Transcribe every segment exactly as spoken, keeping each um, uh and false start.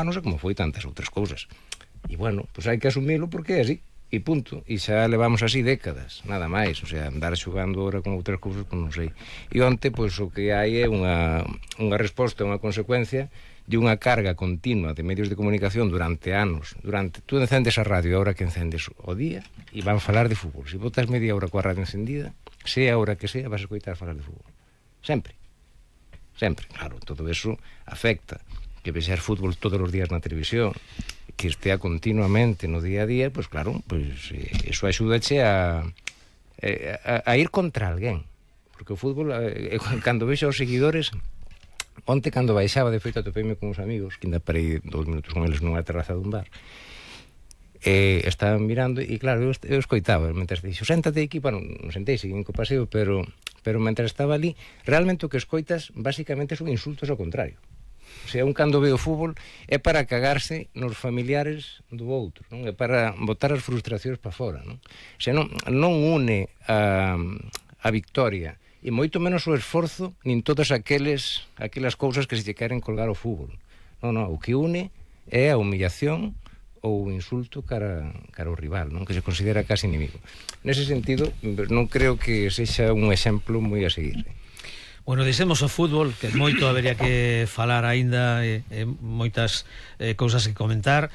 non sei como foi tantas outras cousas. E bueno, pois hai que asumilo porque é así, e punto. E xa levamos así décadas, nada máis. O sea, andar xogando ahora con outras cousas, pois non sei. E onte, pois o que hai é unha, unha resposta, unha consecuencia de unha carga continua de medios de comunicación durante anos. Durante, tú encendes a radio, a hora que encendes o día, e van falar de fútbol. Se botas media hora coa radio encendida, sea a hora que sea, vas a escoitar falar de fútbol. Sempre. Sempre, claro, todo eso afecta. Que vexer fútbol todos os días na televisión, que estea continuamente no día a día, pois claro, pois eh, eso axúdache a, a, a ir contra alguén, porque o fútbol, eh, cando vexo os seguidores, onte cando baixaba, de feito atopeime con uns amigos, que ainda parei dous minutos con eles nunha terraza dun bar, e estaban mirando, e claro, eu, eu escoitaba, mentre dixo, séntate aquí, bueno, non sentei, seguín co paseo, pero, pero mentre estaba ali, realmente o que escoitas, basicamente, son insultos ao contrario. O sea, un cando ve o fútbol é para cagarse nos familiares do outro, non? É para botar as frustracións para fora, non? O sea, non, non une a, a victoria e moito menos o esforzo nin todas aqueles aquelas cousas que se lle queren colgar ao fútbol. Non, non, o que une é a humillación ou o insulto cara, cara ao rival, non? Que se considera casi inimigo. Nese sentido, non creo que sexa un exemplo moi a seguir. Bueno, dixemos o fútbol, que moito habería que falar aínda, e, e moitas eh, cousas que comentar.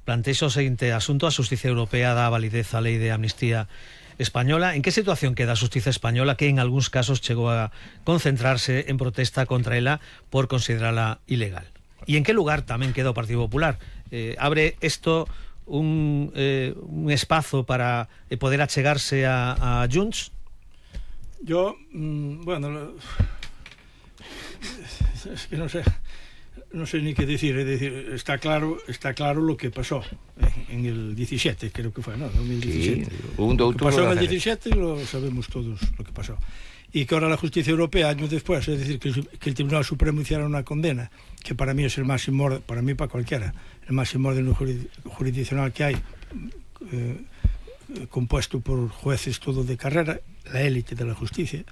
Plantexo o seguinte asunto: a Xustiza Europea dá validez á lei de amnistía española. En que situación queda a Xustiza española, que en algúns casos chegou a concentrarse en protesta contra ela por considerala ilegal? E en que lugar tamén queda o Partido Popular? Eh, abre isto un, eh, un espazo para eh, poder achegarse a, a Junts? Yo, mmm, bueno... es que no sé no sé ni qué decir, es decir, está claro está claro lo que pasó en el diecisiete, creo que fue, ¿no? dos mil diecisiete. Sí, un lo que pasó en el diecisiete lo sabemos todos lo que pasó. Y que ahora la justicia europea, años después, es decir, que el, que el Tribunal Supremo hiciera una condena, que para mí es el máximo orden, para mí, para cualquiera, el máximo orden jurisdiccional que hay, eh, compuesto por jueces todo de carrera, la élite de la justicia,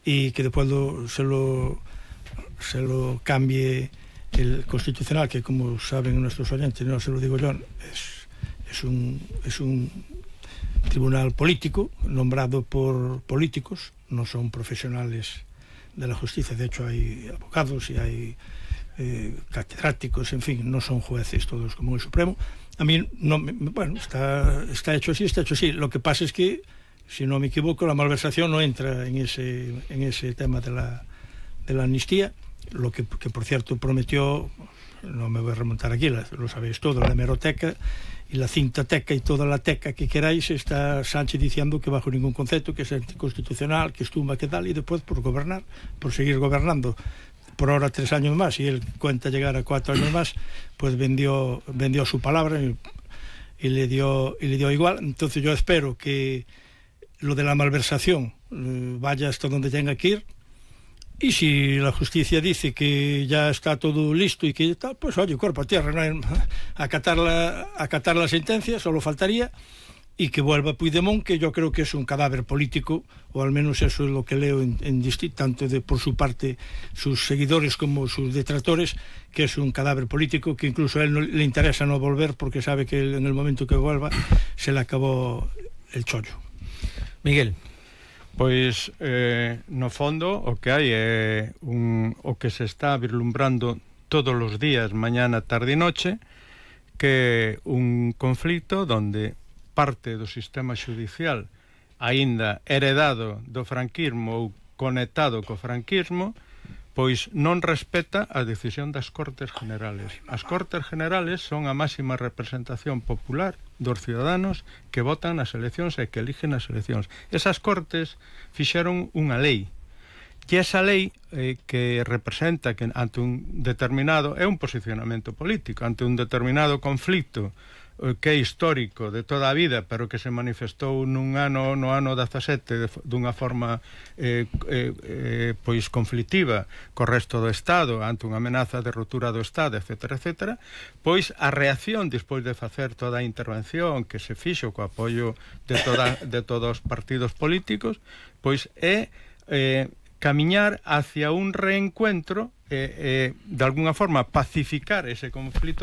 y que después lo, se lo se lo cambie el Constitucional, que como saben nuestros oyentes, no se lo digo yo, es, es, un, es un tribunal político nombrado por políticos, no son profesionales de la justicia. De hecho hay abogados y hay eh, catedráticos, en fin, no son jueces todos como el Supremo. A mí, no, bueno, está, está hecho así, está hecho así. Lo que pasa es que, si no me equivoco, la malversación no entra en ese, en ese tema de la, de la amnistía, lo que, que por cierto prometió, no me voy a remontar aquí, la, lo sabéis todo, la hemeroteca y la cintateca y toda la teca que queráis, está Sánchez diciendo que bajo ningún concepto, que es anticonstitucional, que estumba, que tal, y después por gobernar, por seguir gobernando por ahora tres años más, y él cuenta llegar a cuatro años más, pues vendió, vendió su palabra y, y, le dio, y le dio igual. Entonces yo espero que lo de la malversación eh, vaya hasta donde tenga que ir, y si la justicia dice que ya está todo listo y que tal, pues oye, cuerpo a tierra, no hay, acatar, la, acatar la sentencia, solo faltaría, y que vuelva Puigdemont, que yo creo que es un cadáver político, o al menos eso es lo que leo en, en tanto de, por su parte, sus seguidores como sus detractores, que es un cadáver político, que incluso a él no, le interesa no volver, porque sabe que él, en el momento que vuelva se le acabó el chollo. Miguel. Pois, eh, no fondo, o que hai é un, o que se está vislumbrando todos os días, mañana, tarde e noche, que un conflito donde parte do sistema xudicial aínda heredado do franquismo ou conectado co franquismo, pois non respeta a decisión das Cortes Generales. As Cortes Generales son a máxima representación popular dos ciudadanos que votan nas eleccións e que eligen as eleccións. Esas Cortes fixeron unha lei, e esa lei eh, que representa que ante un determinado, é un posicionamento político, ante un determinado conflito que é histórico de toda a vida, pero que se manifestou nun ano, no ano dezasete de, dunha forma eh, eh, eh, pois conflictiva co resto do Estado, ante unha amenaza de ruptura do Estado, etcétera, etcétera, pois a reacción despois de facer toda a intervención que se fixo co apoio de, toda, de todos os partidos políticos, pois é eh, camiñar hacia un reencuentro, eh, eh, de alguna forma pacificar ese conflito